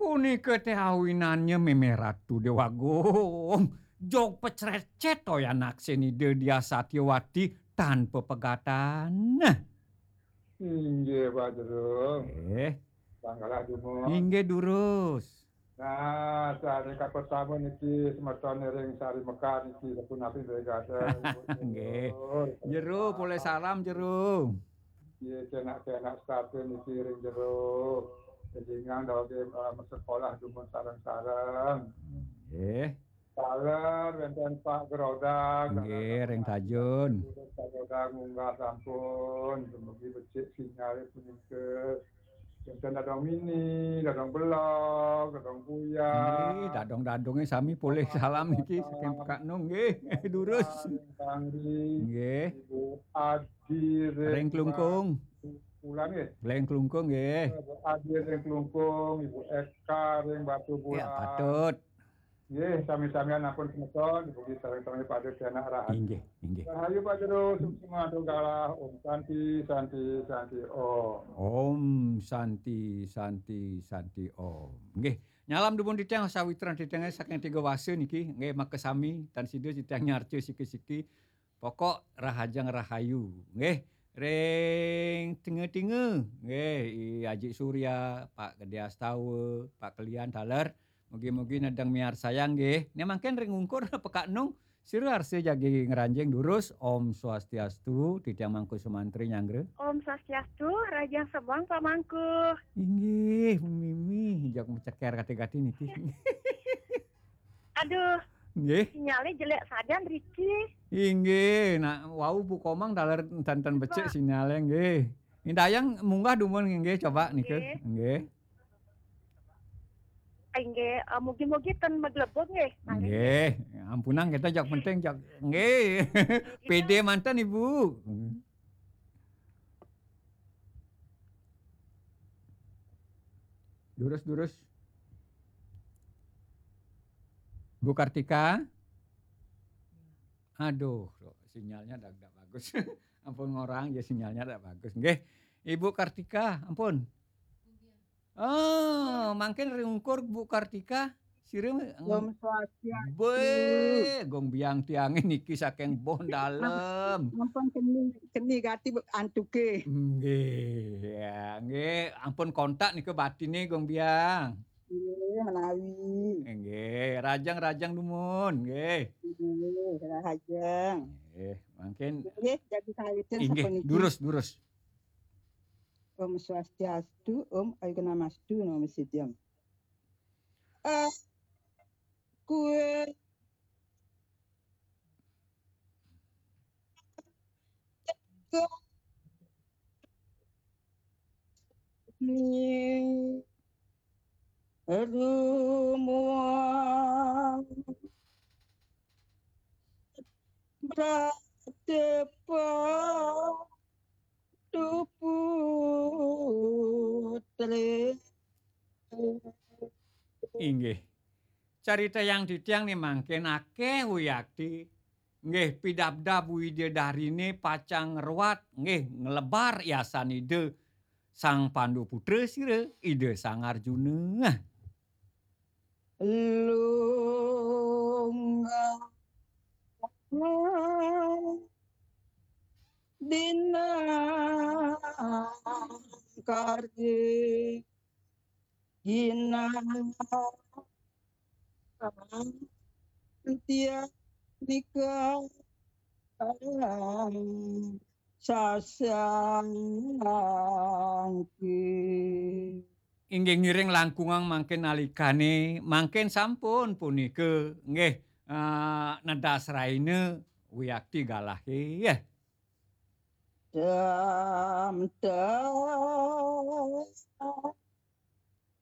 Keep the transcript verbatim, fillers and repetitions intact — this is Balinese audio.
Punika téh awinannya mémé Ratu Déwa Agung. Jog pecrecet toyan aksénida Diah Satyawati tan pepegatan. Inggih, Pak Jero. Eh. Tanggalah dumun. Inggih, durus. Nah, sari kapetama niki semeton ring sari Mekar niki sapunapi begaten. Nggih. Jero, polih salam, Jero. Nggih, kenak-kenak setata niki ring Jero. Kelingan dawege, eh, masekolah dumun sareng-sareng. Nggih. Taler wénten Pak Gerodag, nggih, ring Tajun. Pak Gerodag munggah sampun, dumugi becik sinyalé punika. Wénten Dadong Mini, Dadong Belog, Dadong Buyang. Nggih, dadong-dadonge sami polih salam niki saking Pekak Nung, nggih. Durus. Kang Ri, nggih. Ibu Adi ring Klungkung. Pulang nggih. Ring Klungkung, nggih. Ibu Adi ring Klungkung, Ibu Eka ring Batu Bulan. Ya, patut. Nggih, sami-samian ampun semeton, dipuji sareng sami pada tianak rahayu. Inggih, inggih. Rahayu Pak Jero, suksma antuk galah. Om Santi, Santi, Santi, Om. Om Santi, Santi, Santi, Om. Nggih, nyalam dumun titiang sawitran titiange saking tiga wasa niki, nggih, makasami, tan sida titiang nyarca siki-siki. Pokok rahajeng rahayu, nggih. Ring tinga-tinga, nggih, I Aji Surya, Pak Gede Astawa, Pak Kelian taler. Mugi-mugi nedeng miarsayang, nggih. Nih mangkin ring ungkur Pekak Nung, sira arsa jagi ngranjing durus. Om Swastiastu, titiang Mangku Sumantri nyanggra. Om Swastiastu, rahajeng semeng Pak Mangku. Inggih, mimi, jak meceker kati-kati niki. Aduh. Nggih. Sinyalnya jelek sajan, Riki. Inggih, nak wau Bu Komang taler enten-enten becik sinyalnya, nggih. Indayang munggah dumun nggih, coba nika. Nggih. Nggih. Inggih, eh, mugi-mugi ten maglebur nggih. Nggih, ampunang kita jak penting jak nggih. Pede manten Ibu. Durus, durus. Bu Kartika? Aduh, sinyalnya dak, dak bagus. Ampun ngorang ya sinyalnya dak bagus. Nggih. Ibu Kartika, ampun. Oh, mangkin ring ungkur Bu Kartika, sira Om Swastiastu. Be, gong biang tiange niki saking Bon Dalem. Ampun keni, keni gati antuke. Nggih, ya, nggih. Ampun kontak nika batine gong biang. Nggih, menawi. Nggih, rajang-rajang dumun, nggih. Nggih, rajang. Nggih, mangkin. Nggih, jagi sawitin. Nggih, sapuniki. Durus, durus. Om Swastiastu, Om Ayu Namastu, Namo Sidham. Eh, kue ni rumah berdepan tu putri. Inggih. Carita yang titiang ni mangkin akeh wiakti. Nggih, pidabdab widadarine pacang ngruat, nggih, nglebar yasan Ida Sang Pandu Putra sira, Ida Sang Arjuna. Lunga dina karye ginantian nika sasangke. Inggih ngiring langkungang mangkin nalikane, mangkin sampun punika, nggih, eh, nedas raina wiakti galahe, ya. Dam, dam.